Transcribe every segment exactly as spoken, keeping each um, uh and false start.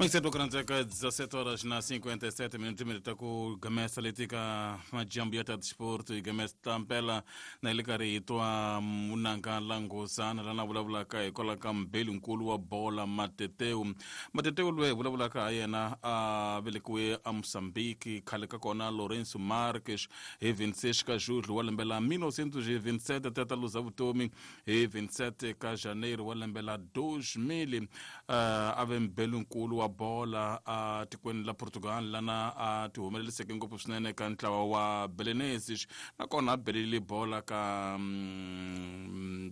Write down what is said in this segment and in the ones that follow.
Mixed dezassete horas na cinquenta e sete minutos minuto ku gamesa letika majambu ya ta desporto e gamesa tampela na ile karhi hi twa munanga langozana lana vulavulaka hikwalaho ka mbeli nkulu wa bola Mateteu. Mateteu loyi hi vulavulaka ha yena a velekiwe a Mozambique, khale ka kona Lourenço Marques, hi vinte e seis ka julho wa lembe la mil novecentos e vinte e sete até ta luza vutomi hi vinte e sete ka janeiro wa lembe la dois mil. uh, a ve mbeli nkulu wa bola a tikweni la Portugal, lana a ti humeleliseke ngopfu swinene ka ntlawa wa Belenenses, nakona a belele bola ka mm,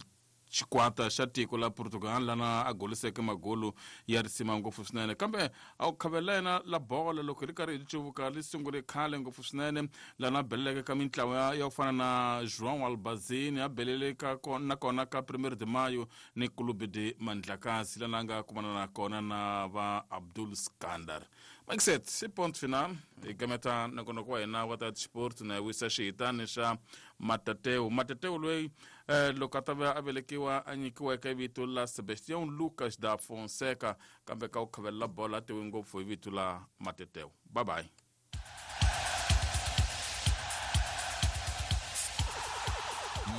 xikwata xa tiko la Portugal, lana a goliseke magolu ya risima ngopfu swinene. Kambe a wu khavela yena la bola loko hi ri karhi hi cuvuka li sungule khale ngopfu swinene, lana a beleleke ka mintlawa ya ku fana na João Albazini, a belele ka nakona ka Primeiro de Maio ni Clube de Mandlakazi, lana a nga kumana na kona na va Abdul Skandar. Maxet i ponto final hi gameta nongonoko wa hina wa ta sport na hi wisa xihitani xa Matateu. Matateu loyi eh, loko a ta va a velekiwa a nyikiweke vito la Sebastião Lucas da Fonseca, kambe ka ku khavelela bolo a tiwi ngopfu hi vito la Mateteu. Bye bye.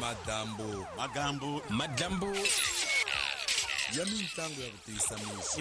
Madambu Magambu Madlambu ya mintlangu ya ku tiyisa mixo.